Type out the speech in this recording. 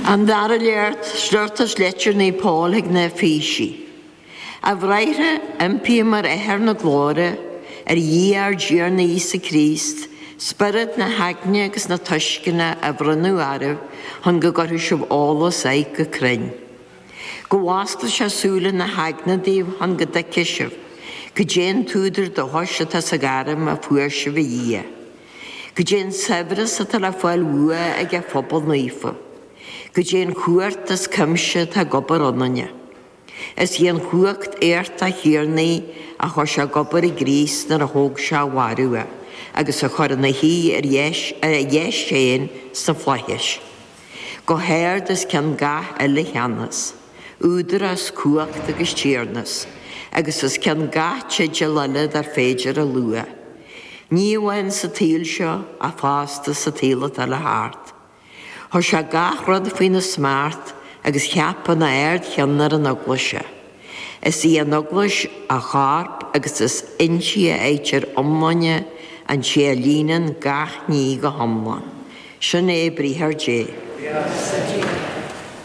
An dara léacht, sliocht as Leitir Naomh Pól chuig na hEifísigh. A bhráithre, impím ar Athair na glóire, ar Dhia ár dTiarna Íosa Críost, spiorad na heagna agus na tuisceana a bhronnadh oraibh chun go gcuirfidh sibh eolas air go cruinn. Go bhfosclaí sé súile na heagna daoibh chun go dtuigfidh sibh goidé an t-údar dóchais atá sa ghairm a fuair sibh ó Dhia. Goidé an saibhreas atá le fáil uaidh ag a phobal naofa. Goidé an chumhacht as cuimse atá ag obair ionainne. Is í an chumhacht éachtach chéanna a chuir sé ag obair i gCríost nuair a thóg sé ó mhairbh é agus a chuir ina shuí ar a dheis féin sna flaithis. Go hard os cionn gach uile cheannas, údarás, cumhacht agus tiarnas, agus os cionn gach teideal eile dar féidir a lua, ní amháin sa tsaol seo ach fosta sa tsaol atá le theacht. Chuir sé gach rud faoina smacht agus cheap ina ardcheann ar an Eaglais é. Is í an Eaglais a chorp agus is inti a fhaightear iomláine an té a líonann gach ní go hiomlán. Sin é briathar Dé. Buíochas le Dia.